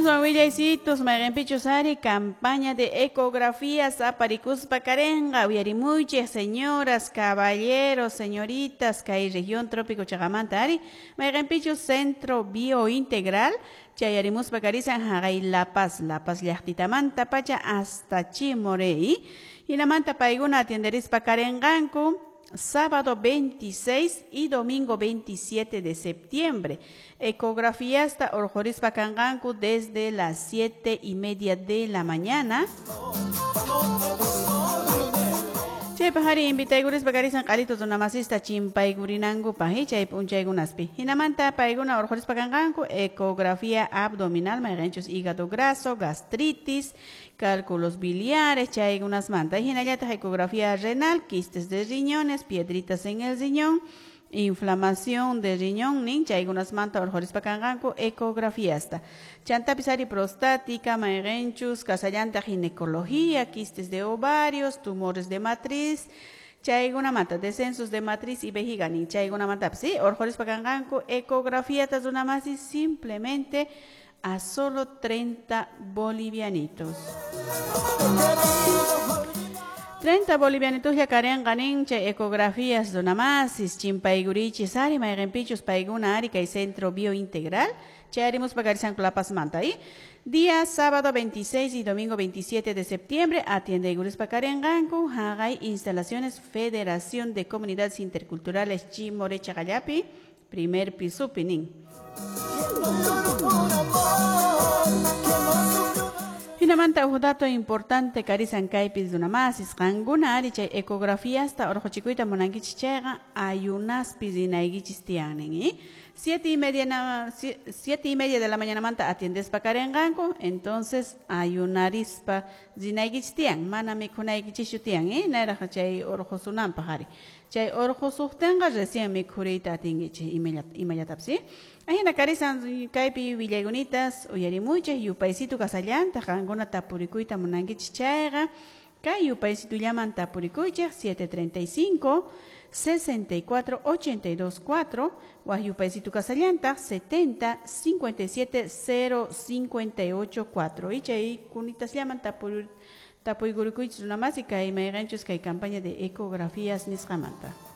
Aswan willaysitos mayqinpichus ari campaña de ecografías aparikuspa karenqa uyarimuychik señoras, caballeros, señoritas kay región trópico chaqamanta ari mayqinpichus Centro Biointegral chayarimuspa karisan haqay La Paz, La Paz llaqtitamanta pacha hasta Chimoré hinamanta paykuna atienderispa karenqanku sábado 26 y domingo 27 de septiembre. Ecografía hasta urqhurispa kanqanku desde las 7:30 de la mañana. Chaypaq ari invitaykurispa karisan q'alito runamasista chimpaykurinankupaq chay p'unchaykunaspi. Hinamanta paykuna urqhurispa kanqanku ecografía abdominal mayqinchus hígado graso, gastritis, cálculos biliares, chaykunasmanta. Hinallataq ecografía renal, quistes de riñones, piedritas en el riñón, inflamación de riñón nin chaykunasmanta urqhurispa kanqanku ecografiasta. Chantapis ari prostática, mayqinchus, kasallanta ginecología, quistes de ovarios, tumores de matriz, chaykunamanta descensos de matriz y vejiga nin chaykunamantapis, ¿sí? Urqhurispa kanqanku ecografía runamasi simplemente a solo 30 bolivianitos. 30 bolivianitos ya karenqa nin chay ecografías runamasis chimpaykurichis ari mayqinpichus paykuna ari kay Centro Biointegral chayarimuspa karisanku La Pazmanta y día sábado 26 y domingo 27 de septiembre atiendeykurispa karenqanku haqay instalaciones Federación de Comunidades Interculturales Chimoré Chaqallapi primer pisupi nin. Hinamanta huk dato importante karisan kaypi runamasis qankuna ari chay ecografiasta urquchikuyta munankichis chayqa ayunaspi rinaykichis tiyanin, ¿eh? 7:30 de la mañanamanta atiendespa karenqanku, entonces ayunarispa rinaykichis tiyan, mana mikhunaykichishchu tiyan, ¿eh? Nayraq chay urqusunanpaq ari. Chay urqusuqtinqa recién mikhuriyta atinkichis imallatapis, ¿eh? Ahina karisan kaypi willaykunitas uyarimuychik yupaysitu kasallanta qankuna tapurikuyta munankichis chayqa kay yupaysitullaman tapurikuychik 735 64 82 4 waj yupaysitu kasallanta 70 57 0 58 4 y chay kunitasllaman tapuykurikuychis runamasi kay mayqinchus kay campaña de ecografías nisqamanta.